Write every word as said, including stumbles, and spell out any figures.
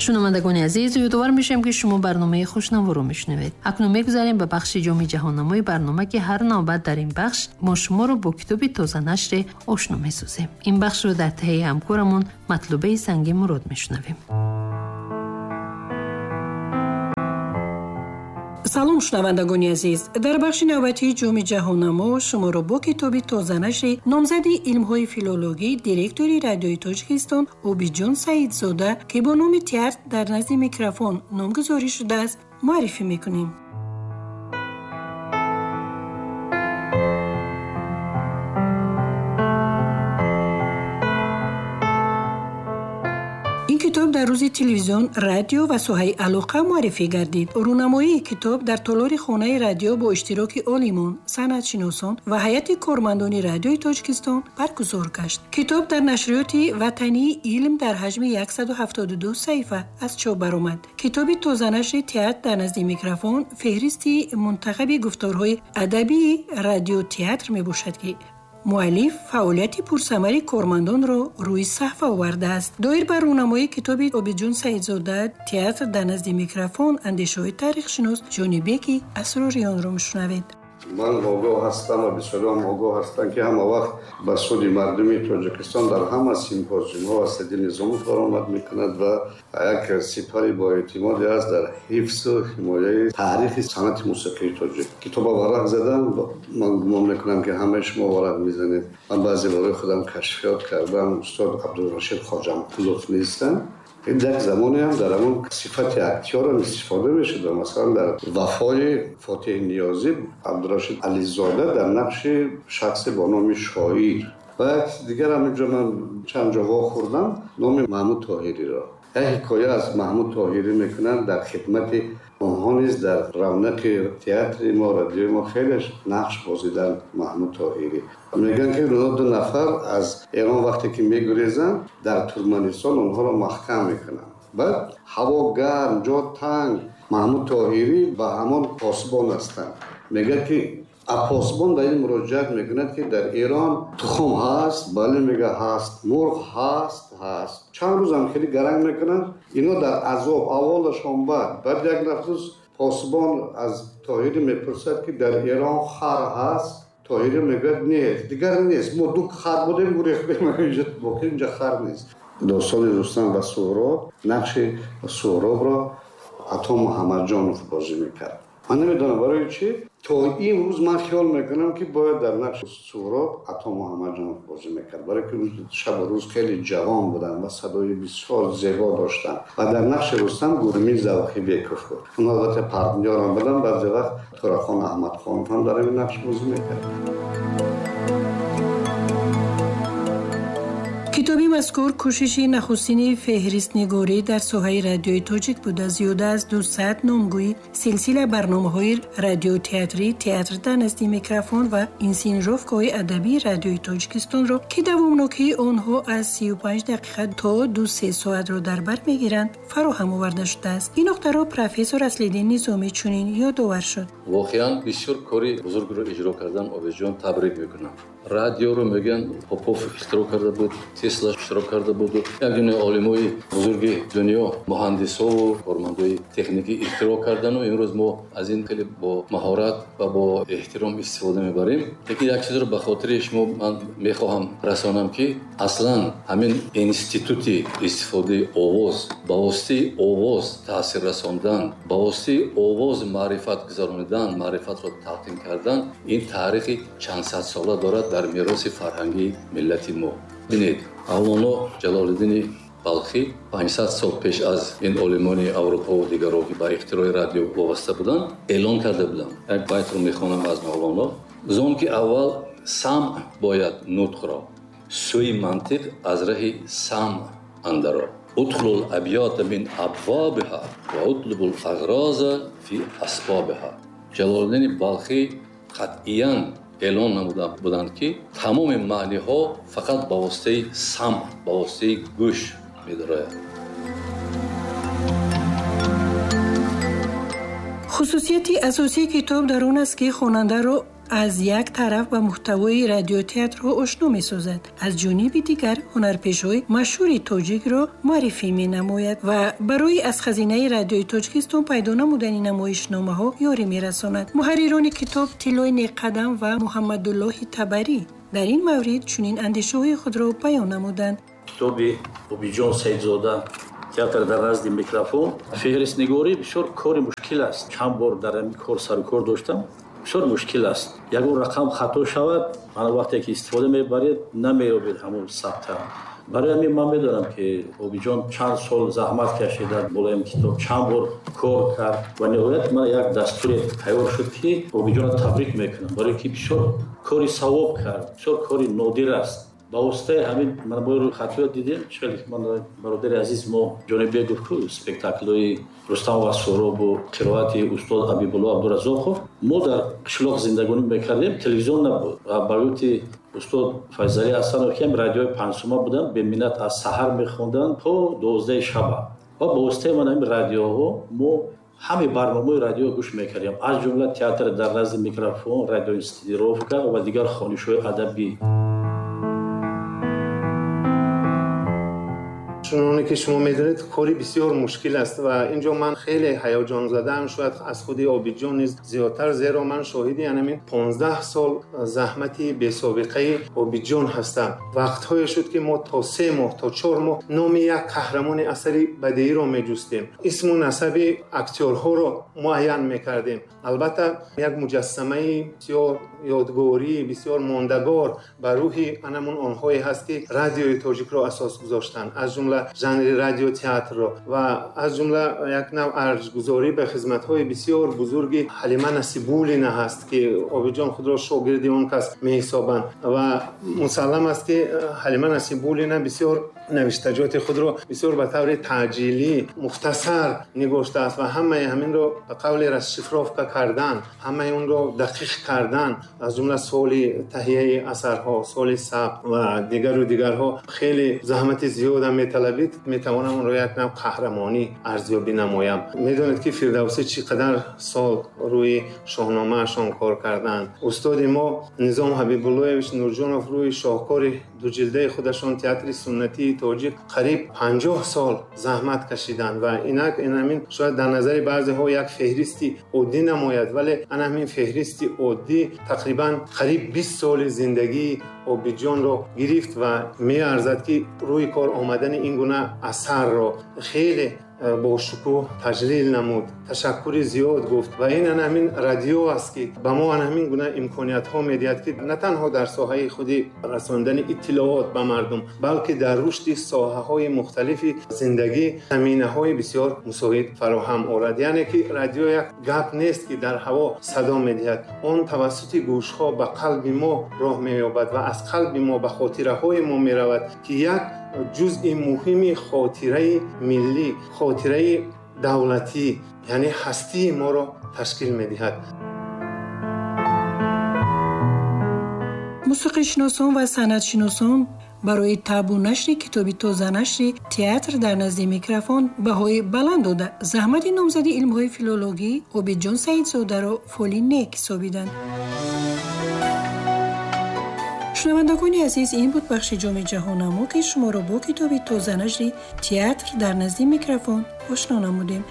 Шунавандагони азиз, ёдовар мешавем, ки шумо барномаи Хушнаворо мешунавед. Акнун мегузарем ба бахши ҷоми ҷаҳоннамои барнома, ки ҳар навбат дар ин бахш мо шуморо бо китоби тозанашре ошно месозем. Ин бахшро дар таҳияи ҳамкорамон Матлубаи Санги Мурод мешунавем. Салом, шунавандагони азиз. Дар бахши навбатии ҷоми ҷаҳоннамо шуморо бо китоби тозанашри номзади илмҳои филологӣ, директори радиои Тоҷикистон Обидҷон Саидзода, ки бо номи «Театр дар назди микрофон» номгузорӣ шудааст, муаррифӣ мекунем. Ин китоб дар рӯзи телевизион, радио ва соҳаи алоқа муаррифӣ гардид. Рӯнамоии китоб дар толори хонаи радио бо иштироки олимон, санъатшиносон ва ҳайати кормандони радиои Тоҷикистон баргузор гашт. Китоб дар нашриёти ватании илм дар ҳаҷми яксаду ҳафтоду ду саҳифа аз чоп баромад. Китоби тозанашри «Театр дар назди микрофон» феҳристи мунтахаби гуфторҳои адабии радиотеатр мебошад, ки муаллиф фаъолияти пурсамари кормандонро рӯи саҳфа овардааст. Доир ба рӯнамоии китоби Обидҷон Саидзода «Театр дар назди микрофон» андешаҳои таърихшинос Ҷонибеки Асрориёнро мешунавед. Ман огоҳ ҳастам ва бисёриам огоҳ ҳастанд, ки ҳама вақт ба суди мардуми Тоҷикистон дар ҳама симпозиумҳо Асадӣ Низомов баромад мекунад ва як сипари боэътимоде аст дар ҳифзу ҳимояи таърихи санъати мусиқии тоҷик. Китоба варақ задам, ман гумон мекунам, ки ҳамаи шумо варақ мезанед. Ман баъзе барои худам кашфиёт кардам. Устод Абдурашид Хоҷамқулов нестанд. Як замоне ҳам дар ҳамон сифати актёрам истифода мешуд. Масалан, дар «Вафои» Фотиҳ Ниёзӣ Абдурашид Ализода дар нақши шахсе бо номи Шоир ва як дигар ҳам инҷо ман чанд ҷо вохӯрдам номи Маҳмуд Тоҳириро. Як ҳикоя аз Маҳмуд Тоҳирӣ мекунанд дар хидмати онҳо низ дар равнақи театри мо, радиои мо хеле нақш бозиданд Маҳмуд Тоҳирӣ. Мегӯянд, ки онҳо ду нафар аз Эрон вақте ки мегурезанд, дар Туркманистон онҳоро маҳкам мекунанд. Баъд ҳаво гарм, ҷо танг, Маҳмуд Тоҳирӣ ба ҳамон посбон ҳастанд. Мегӯяд, ки посбон ба ин муроҷиат мекунад, ки дар Эрон тухм ҳаст? Бале, мега, ҳаст. Мурғ ҳаст? Ҳаст. Чанд рӯзам хеле гаранг мекунанд, ино дар азоб, аввалашон бад. Баъд як рӯз посбон аз Тоҳирӣ мепурсад, ки дар Эрон хар ҳаст? Тоҳирӣ мегӯяд, нест, дигар нест, мо ду хар будем, гурехтем, инҷо боқӣ инҷо хар нест. Достони Рустам ва Суҳроб, нақши Суҳробро Ато Муҳаммадҷонов бозӣ мекард. Ман намедонам барои чӣ то имрӯз ман хиёл мекунам, ки бояд дар нақши Суҳроб Ато Муҳаммадҷонов бозӣ мекард, барои ки шабу рӯз хеле ҷавон буданд ва садои бисёр зебо доштанд. Ва дар нақши Рустам Гурмин Завқибеков буд. Он албатта партнёрам будам, баъзе вақт Турахон Аҳмадхонов ҳам дар ин нақш бозӣ мекард. Китоби мазкур кӯшиши нахустини феҳристнигорӣ дар соҳаи радиои тоҷик буда, зиёда аз дусад номгӯи силсила барномаҳои радиотеатрӣ, «Театр дар назди микрофон» ва инсинжовкаҳои адабии радиои Тоҷикистонро, ки давомнокии онҳо аз сию панҷ дақиқа то ду-се соатро дар бар мегиранд, фароҳам оварда шудааст. Ин нуқтаро профессор Аслиддин Низомӣ чунин ёдовар шуд. Воқеан бисёр кори бузургро иҷро кардан, Обидҷон, табрик мекунам. Радиоро мегӯянд Попов ихтироъ карда буд, Тесла иштирок карда буд. Як дунё олимои бузурги дунё, муҳандисову кормандои техникӣ ихтироъ кардану имрӯз мо аз ин хеле бо маҳорат ва бо эҳтиром истифода мебарем. Лекин як чизро ба хотири шумо ман мехоҳам расонам, ки аслан ҳамин институти истифодаи овоз, ба воситаи овоз таъсир расондан, ба воситаи овоз маърифат гузаронидан, маърифатро талқин кардан, ин таърихи чандсадсола дорад дар мероси фарҳангии миллати мо. Бинед, Мавлоно Ҷалолиддини Балхӣ панҷсад сол пеш аз ин олимони Аврупо ва дигарро, ки ба ихтирои радио вобаста буданд, эълон карда буданд. Як байтро мехонам аз Мавлоно: зон ки аввал самъ бояд нутқро, сӯи мантиқ аз раҳи самъ андаро, удхулул абёта мин абвобиҳа ва утлубул ағроза фи асбобиҳа. Ҷалолиддини Балхӣ қатъиян эълон намуда буданд, ки тамоми маъниҳо фақат ба воситаи самъ, ба воситаи гӯш медарояд. Хусусияти асосии китоб дар он аст, ки хонандаро аз як тараф ба муҳтавои радиотеатрҳо ошно месозад, аз ҷониби дигар ҳунарпешаҳои машҳури тоҷикро муаррифӣ менамояд ва барои аз хазинаи радиои Тоҷикистон пайдо намудани намоишномаҳо ёрӣ мерасонад. Муҳаррирони китоб Тиллои Неққадам ва Муҳаммадуллоҳи Табарӣ дар ин маврид чунин андешаҳои худро баён намуданд. Китоби Обидҷон Саидзода «Театр дар назди микрофон» феҳристнигорӣ бисёр кори мушкил аст. Чанд бор дар ҳамин кор сарукор доштам, бисёр мушкил аст. Ягон рақам хато шавад, мана вақте ки истифода мебаред, намеёбед ҳамон сабта. Барои ҳамин ман медонам, ки Обидҷон чанд сол заҳмат кашид дар болои ин китоб, чанд бор кор кард ва ниҳоят ман як дастуре тайёр шуд, ки Обидҷонро табрик мекунам, барои ки бисёр кори савоб кард, бисёр кори нодир аст. Ба воситаи ҳамин ман бо рӯйхатиҳо дидем, чӣ ман бародари азиз мо Ҷонибек гуфт, ку спектаклҳои Рустам ва Суҳробу қироати устод Ҳабибулло Абдуразоқов. Мо дар қишлоқ зиндагонӣ мекардем, телевизион набуд ва ба гуфти устод Файзалӣ Ҳасанов, ки ҳам радиои панҷсума буданд, беминнат аз саҳар мехонданд то дувоздаҳи шаба ва ба воситаи ман ҳамин радиоҳо мо ҳамаи барномаҳои радио гӯш мекардем, аз ҷумла «Театр дар назди микрофон», радиоинсценировка ва дигар хонишҳои адабӣ. Чуноне ки шумо медонед, кори бисёр мушкил аст ва инҷо ман хеле ҳаяҷон задаам, шояд аз худи Обидҷон низ зиёдтар, зеро ман шоҳиди ҳамин понздаҳ сол заҳмати бесобиқаи Обидҷон ҳастам. Вақтҳое шуд, ки мо то се моҳ, то чор моҳ номи як қаҳрамони асари бадеиро меҷустем, исму насаби актёрҳоро муайян мекардем. Албатта, як муҷассамаи бисёр ёдгорӣ, бисёр мондагор ба рӯҳи анамун онҳое ҳаст, ки радиои тоҷикро асос гузоштанд, аз ҷумла жанри радиотеатрро ва аз ҷумла як нав арҷгузорӣ ба хизматҳои бисёр бузурги Ҳалима Насибуллина ҳаст, ки Обидҷон худро шогирди он кас меҳисобанд ва мусаллам аст, ки Ҳалима Насибуллина бисёр навиштаҷоти худро бисёр ба таври таъҷилӣ, мухтасар нигоштааст ва ҳамаи ҳаминро ба қавли расшифровка кардан, ҳамаи онро дақиқ кардан, аз ҷумла соли таҳияи асарҳо, соли сабт ва дигару дигарҳо хеле заҳмати зиёдам металабид. Метавонам онро як нав қаҳрамонӣ арзёбӣ намоям. Медонед, ки Фирдавсӣ чӣ қадар сол рӯи шоҳномаашон кор карданд. Устоди мо Низом Ҳабибуллоевич Нурҷонов рӯи шоҳкори дуҷилдаи худашон «Театри суннатии тоҷик» қариб панҷоҳ сол заҳмат кашиданд ва инак ин ҳамин шояд дар назари баъзеҳо як феҳристи оддӣ намояд, вале ана ҳамин феҳристи оддӣ тақрибан қариб бист соли зиндагии Обидҷонро гирифт ва меарзад, ки рӯи кор омадани ин гуна асарро хеле бо шукӯҳ таҷлил намуд, ташаккури зиёд гуфт. Ва ин ана ҳамин радио аст, ки ба мо ана ҳамин гуна имкониятҳо медиҳад, ки на танҳо дар соҳаи худи расондани иттилоот ба мардум, балки дар рушди соҳаҳои мухталифи зиндагӣ заминаҳои бисёр мусоид фароҳам орад. Яъне ки радио як гап нест, ки дар ҳаво садо медиҳад, он тавассути гӯшҳо ба қалби мо роҳ меёбад ва аз қалби мо ба хотираҳои мо меравад, ки як ҷузъи муҳими хотираи миллӣ, хотираи давлатӣ, яъне ҳастии моро ташкил медиҳад. Мусиқишиносон ва санъатшиносон барои табъу нашри китоби тозанашри «Театр дар назди микрофон» баҳои баланд дода, заҳмати номзади илмҳои филологӣ Обидҷон Саидзодаро фоли нек ҳисобиданд. Шунавандагони азиз, ин буд бахши ҷоми ҷаҳоннамо, ки шуморо бо китоби тозанашри «Театр дар назди микрофон» ошно намудем.